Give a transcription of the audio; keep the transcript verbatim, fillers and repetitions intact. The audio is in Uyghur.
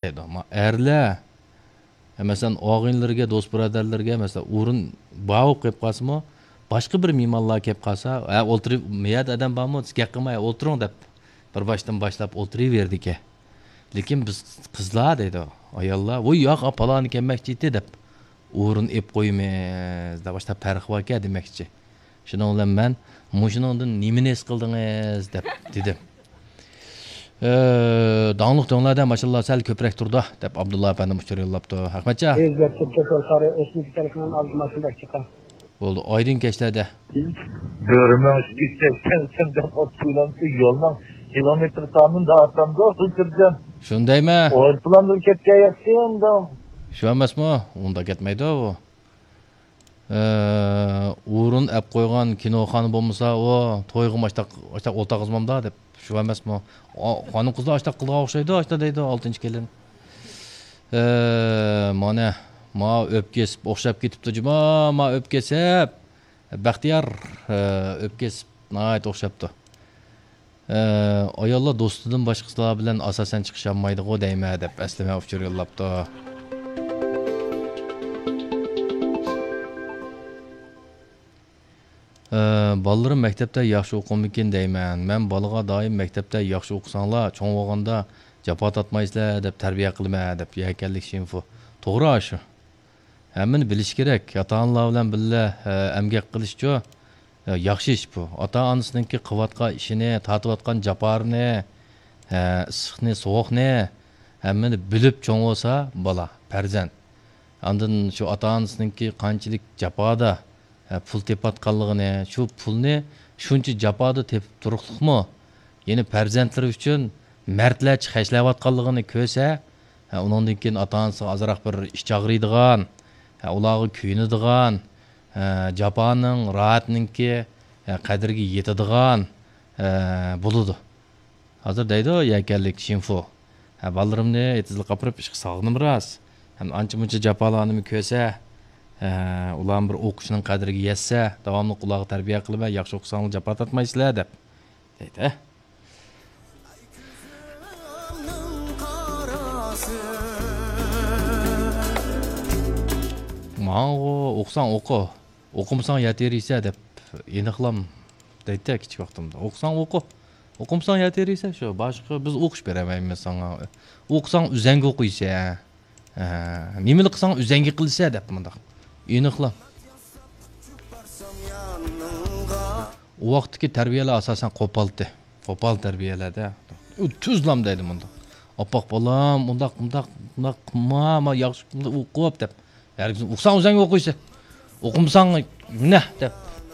دەيدۇ. ما ئەرلەر، مەسىلەن، ئاغىنىلىرىگە، دوست بۇرادەرلىرىگە، مەسىلەن، ئورۇن بار بولۇپ قېلىپ قالسىمۇ، باشقا بىر مېھمانلار كەپ قالسا، ھە، ئولتۇرۇپ، مۇ يەردە ئادەم بارمۇ، سىز گەپ قىلماي، ئولتۇرۇڭ دەپ، بىر باشتىن باشلاپ ئولتۇرۇۋېرىدىكەن. لېكىن بىز قىزلار دەيدۇ، ئاياللار، ۋوي ياق، پالانى كەلمەكچى ئىدى دەپ، ئورۇن ئېلىپ قويىمىز دەپ، باشتا پەرق باركەن دېمەكچى. شۇنىڭ بىلەن مەن، مۇشۇنىڭدىن نېمىنى ھېس قىلدىڭىز دەپ دېدىم. ئە، داڭلىق دۆڭلەردە ماشاللا سەل كۆپرەك تۇرىدۇ، دەپ ئابدۇللا ئەپەندىم ئۇچۇر يوللاپتۇ. ھەقمەتجان. ئۆزگەرتىپ كۆتۈر سارى ئۆسمىدىكەن ئالدىما شۇنداق چىقار. بولدى، ئايدىڭ كەچلەردە. بۆرىمەڭ ئىككى سەكسەن سەن دەپ ئوت قويۇلامسى يولنىڭ كىلومېتىر سانىنى دەۋاتامدۇ، خۇلجىرجان. شۇندايمۇ؟ ئويروپىلاندا كەتكەن ياخشى ئەمدى. شۇ ئەمەسمۇ؟ ئۇنداق كەتمەيدۇ بۇ. ئە، ئورۇن ئەپ قويغان كىنوخانا بولمىسا، ئۇ تويغىمۇ ئاشتاق، ئاشتاق ئولتۇرغۇزمامدا دەپ، شۇ ئەمەسمۇ؟ ئا، خانىم قىزلار ئاشتاق قىلىدىغان ئوخشايدۇ، ئاشتا دەيدۇ، ئالتىنچى كېلىن. ئە، مانا، ما ئۆپكىسىپ ئوخشاپ كېتىپتۇ، جۇما، ما ئۆپكىسىپ. بەختىيار، ئە، ئۆپكىسىپ ناھايىتى ئوخشاپتۇ. ئە، ئاياللار دوستىدىن باشقىسىلار بىلەن ئاساسەن چىقىشالمايدىغۇ دەيمەن دەپ ئەسلىمە ئۇچۇر يوللاپتۇ. ئە، بالىلىرىم مەكتەپتە ياخشى ئوقۇمىكىن دەيمەن. مەن بالىغا دائىم مەكتەپتە ياخشى ئوقۇساڭلار، چوڭ بولغاندا جاپا تارتمايسىلەر دەپ تەربىيە قىلىمەن دەپ يەكەنلىك شىنفۇ. توغرا ئاشۇ. ھەممىنى بىلىش كېرەك. ئاتا-ئانىلار بىلەن بىللە، ئە، ئەمگەك قىلىشچۇ، ئە، ياخشى ئىش بۇ. ئاتا-ئانىسىنىڭكى قىلىۋاتقان ئىشىنى، تارتىۋاتقان جاپالىرىنى، ئە، ئىسسىقنى، سوغۇقنى ھەممىنى بىلىپ چوڭ بولسا بالا، پەرزەنت. ئاندىن شۇ ئاتا-ئانىسىنىڭكى قانچىلىك جاپادا، ئە، پۇل تېپىۋاتقانلىقىنى، شۇ پۇلنى شۇنچە جاپادا تېپىپ تۇرۇقلۇقمۇ، يەنە پەرزەنتلىرى ئۈچۈن مەردلەرچە خەجلەۋاتقانلىقىنى كۆرسە، ھە، ئۇنىڭدىن كېيىن ئاتا-ئانىسىغا ئازراق بىر ئىچ ئاغرىيدىغان، ھە، ئۇلارغا كۆيۈنىدىغان، ھە، جاپانىڭ، راھەتنىڭكى، ھە، قەدرىگە يېتىدىغان، ھە، بولىدۇ. ھازىر دەيدۇ يەكەنلىك شىنفۇ. ھە، بالىلىرىمنى ئېتىزلىق ئاپىرىپ ئىشقا سالغىنىم راست. ھەم ئانچە-مۇنچە جاپالارنى كۆرسە، ھە، ئۇلارمۇ بىر ئوقۇشنىڭ قەدرىگە يەتسە، داۋاملىق ئۇلارغا تەربىيە قىلىمەن، ياخشى ئوقۇساڭلار جاپا تارتمايسىلەر دەپ. دەيدۇ. ماڭغۇ، ئوقۇساڭ ئوقۇ، ئوقۇمىساڭ يەر تېرىيسەن دەپ ئېنىقلام دەيتتى كىچىك ۋاقتىمدا. ئوقۇساڭ ئوقۇ، ئوقۇمىساڭ يەر تېرىيسەن، شۇ باشقا، بىز ئوقۇش بېرەلمەيمىز ساڭا. ئوقۇساڭ ئۆزەڭگە ئوقۇيسەن. ھە، نېمىلا قىلساڭ ئۆزەڭگە قىلىسەن دەپ مۇنداق. ئېنىقلا. ئۇ ۋاقىتتىكى تەربىيەلەر ئاساسەن قوپالتى. قوپال تەربىيەلەردە. ئۇ تۈزلام دەيدۇ مۇنداق. ئاپپاق بالام، ئۇنداق، ئۇنداق، ئۇنداق قىلما، ما ياخشى ئوقۇپ دەپ. ھەرگىز ئوقۇساڭ ئۆزەڭگە ئوقۇيسەن. ئوقۇمىساڭ مىنە دەپ.